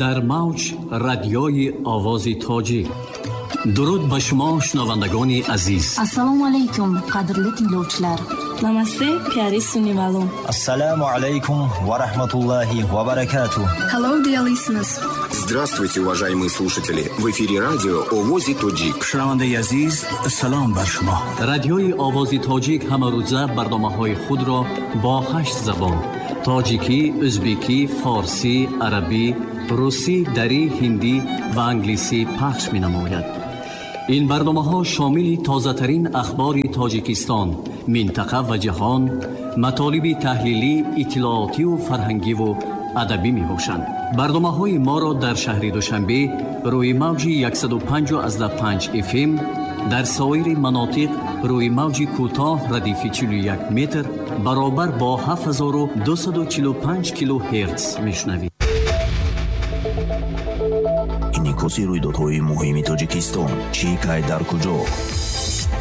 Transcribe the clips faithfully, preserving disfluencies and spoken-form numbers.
Дар мавҷ радиои Овози Тоҷик. Дуруд ба шумо шунавандагони азиз. Ассалому алайкум, қадрли tinglovchilar. Намасте, пиари сунивало. Ассалому алайкум ва раҳматуллоҳи ва баракатуh. Hello, dear listeners. Здравствуйте, уважаемые слушатели. В эфире радио Овози Тоҷик. Шунавандаи азиз, салом бар шумо. Радиои Овози Тоҷик ҳамарӯза барномаҳои худро бо ҳашт забон: тоҷикӣ, ӯзбекӣ, форсӣ, арабӣ, русӣ, дарӣ, ҳиндӣ ва англисӣ пахш менамояд. Ин барномаҳо шомили тозатарин ахбори Тоҷикистон, минтақа ва ҷаҳон, матолиби таҳлилӣ, иттилоотиву фарҳангиву адабӣ мебошанд. Барномаҳои моро дар шаҳри Душанбе рӯи мавҷи яксаду панҷ панҷ эф эм, дар соири манотиқ рӯи мавҷи кӯтоҳ радифи чилу як метр баробар бо ҳафт ҳазору дусаду чилу панҷ килогерц мешунавед. Инъикоси рӯйдодҳои муҳими Тоҷикистон, чӣ кай дар куҷо?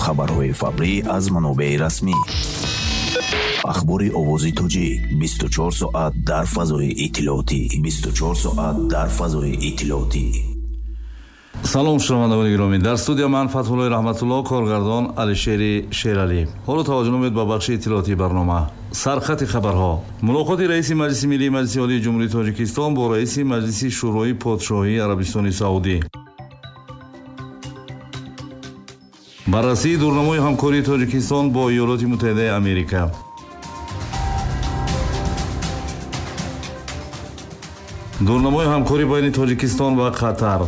Хабарҳои фаврӣ аз манобеи расмӣ. Ахбори Овози Тоҷик бисту чор соат дар фазои иттилоотӣ. бисту чор соат дар фазои иттилоотӣ. Салом шунавандагони гиромӣ. Дар студия ман Фатҳуллои Раҳматулло, коргардон Алишери Шералӣ. Ҳоло таваҷҷӯҳ намоед ба бахши иттилоотии барнома. Сархати хабарҳо. Мулоқоти раиси Маҷлиси Миллии Маҷлиси Олии Ҷумҳурии Тоҷикистон бо раиси Маҷлиси Шӯрои Подшоҳии Арабистони Саудӣ. Баррасии дурнамои ҳамкории Тоҷикистон бо Иёлоти Муттаҳидаи Америка. Дурнамои ҳамкорӣ байни Тоҷикистон ва Қатар.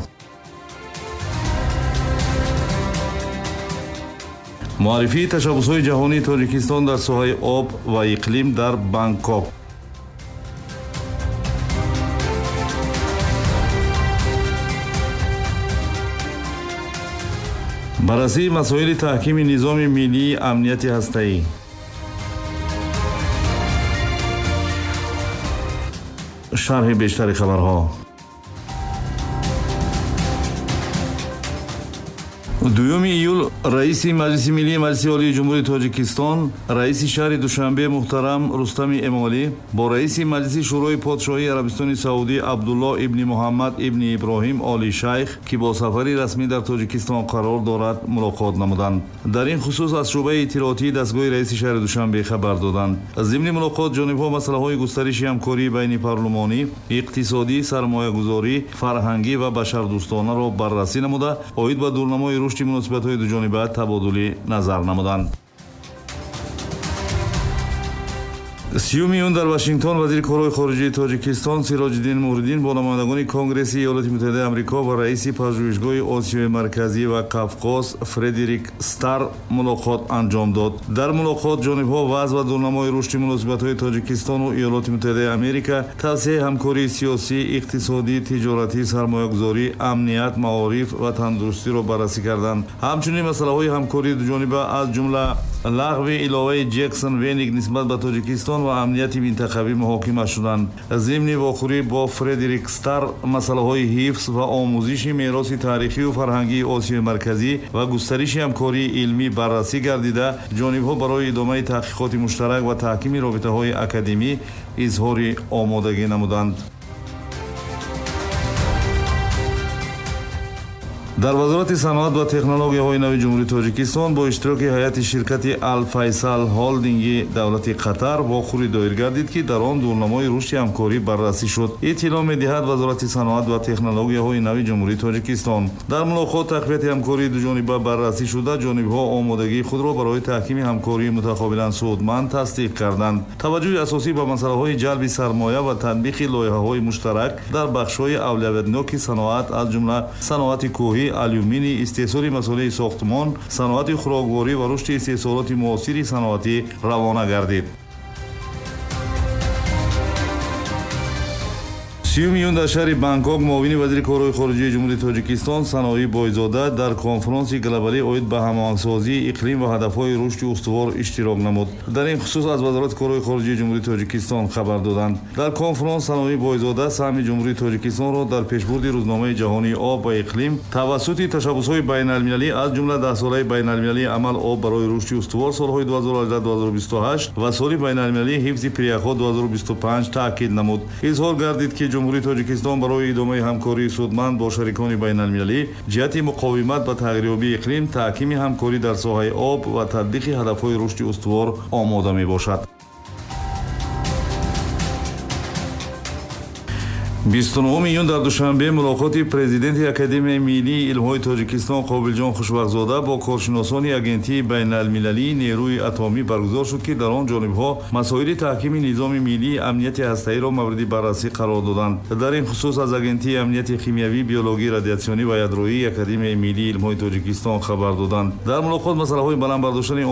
Муаррифии ташаббусҳои ҷаҳонии Тоҷикистон дар соҳаи об ва иқлим дар Бангкок. Баррасии масоили таҳкими низоми миллии амнияти ҳастаӣ. Шарҳи бештари хабарҳо. Дуюми июл раиси Маҷлиси Миллии Маҷлиси Олии Ҷумҳурии Тоҷикистон, раиси шаҳри Душанбе муҳтарам Рустами Эмомалӣ бо раиси Маҷлиси Шӯрои Подшоҳии Арабистони Саудӣ Абдулло ибни Муҳаммад ибни Иброҳим Оли Шайх, ки бо сафари расмӣ дар Тоҷикистон қарор дорад, мулоқот намуданд. Дар ин хусус аз шӯъбаи иттилоотии дастгоҳи раиси шаҳри Душанбе хабар доданд. Зимни мулоқот ҷонибҳо масъалаҳои густариши ҳамкории байни парлумонӣ, иқтисодӣ, сармоягузорӣ, фарҳангӣ ва башардӯстонаро баррасӣ намуда, оид ба дурнамои рушди муносибатҳои дуҷониба табодули назар намуданд. Сиюми июн дар Вашингтон вазири корҳои хориҷии Тоҷикистон Сироҷиддин Муҳриддин бо намояндагони Конгресси Иёлоти Муттаҳидаи Амрико ва раиси пажӯҳишгоҳи Осиёи Марказӣ ва Қавқоз Фредерик Стар мулоқот анҷом дод. Дар мулоқот ҷонибҳо вазъ ва дурнамои рушди муносибатҳои Тоҷикистону Иёлоти Муттаҳидаи Америка, тавсеаи ҳамкории сиёсӣ, иқтисодӣ, тиҷоратӣ, сармоягузорӣ, амният, маориф ва тандурустиро баррасӣ карданд. Ҳамчунин масъалаҳои ҳамкории дуҷониба аз ҷумла лағви иловаи Ҷексон Веник нисбат ба Тоҷикистон ва амнияти минтақавӣ муҳокима шуданд. Зимни вохӯрӣ бо Фредерик Стар масъалаҳои ҳифз ва омӯзиши мероси таърихию фарҳангии Осиёи Марказӣ ва густариши ҳамкории илмӣ баррасӣ гардида, ҷонибҳо барои идомаи таҳқиқоти муштарак ва таҳкими робитаҳои академӣ изҳори омодагӣ намуданд. Дар Вазорати саноат ва технологияҳои нави Ҷумҳурии Тоҷикистон бо иштироки ҳайати ширкати Алфайсал Холдинги давлати Қатар вохӯрӣ доир гардид, ки дар он дурнамои рушди ҳамкорӣ баррасӣ шуд. Иттилоъ медиҳад Вазорати саноат ва технологияҳои нави Ҷумҳурии Тоҷикистон. Дар мулоқот тақвияти ҳамкории дуҷониба баррасӣ шуда, ҷонибҳо омодагии худро барои таҳкими ҳамкории мутақобилан судманд тасдиқ карданд. Таваҷҷӯҳи асосӣ ба масъалаҳои ҷалби сармоя ва татбиқи лоиҳаҳои муштарак дар бахшҳои авлавиятноки саноат, аз ҷумла саноати кӯҳӣ, алюминий, истеҳсоли масолеҳи сохтмон, саноати хӯрокворӣ ва рушди истеҳсолоти муосири саноатӣ равона гардид. Сиюми июн дар шаҳри Бангкок муовини вазири корҳои хориҷии Ҷумҳурии Тоҷикистон Саноӣ Бойзода дар конфронси глобалӣ оид ба ҳамоҳангсозии иқлим ва ҳадафҳои рушди устувор иштирок намуд. Дар ин хусус аз Вазорати корҳои хориҷии Ҷумҳурии Тоҷикистон хабар доданд. Дар конфронс Саноӣ Бойзода саҳми Ҷумҳурии Тоҷикистонро дар пешбурди рӯзномаи ҷаҳонии об ва иқлим тавассути ташаббусҳои байналмилалӣ, аз ҷумла даҳсолаи байналмилалии амал об барои рушди устувор солҳои ду ҳазору ҳаждаҳ - ду ҳазору бисту ҳашт ва соли байналмилалии ҳифзи пиряхҳо ду ҳазору бисту панҷ таъкид намуд. Изҳор гардид, ки Ҷумҳурии Тоҷикистон барои идомаи ҳамкории судманд бо шарикони байналмилалӣ ҷиҳати муқовимат ба тағйирёбии иқлим, таҳкими ҳамкорӣ дар соҳаи об ва татбиқи ҳадафҳои рушди устувор омода мебошад. бисту нуҳуми июн дар Душанбе мулоқоти президенти Академияи миллии илмҳои Тоҷикистон Қобилҷон Хушбахтзода бо коршиносони Агентии байналмилалии нерӯи атомӣ баргузор шуд, ки дар он ҷонибҳо масоили таҳкими низоми миллии амнияти ҳастаиро мавриди баррасӣ қарор доданд. Дар ин хусус аз Агентии амнияти химиявӣ, биологӣ, радиатсионӣ ва ядроии Академияи миллии илмҳои Тоҷикистон хабар доданд. Дар мулоқот масъалаҳои баланд бардоштани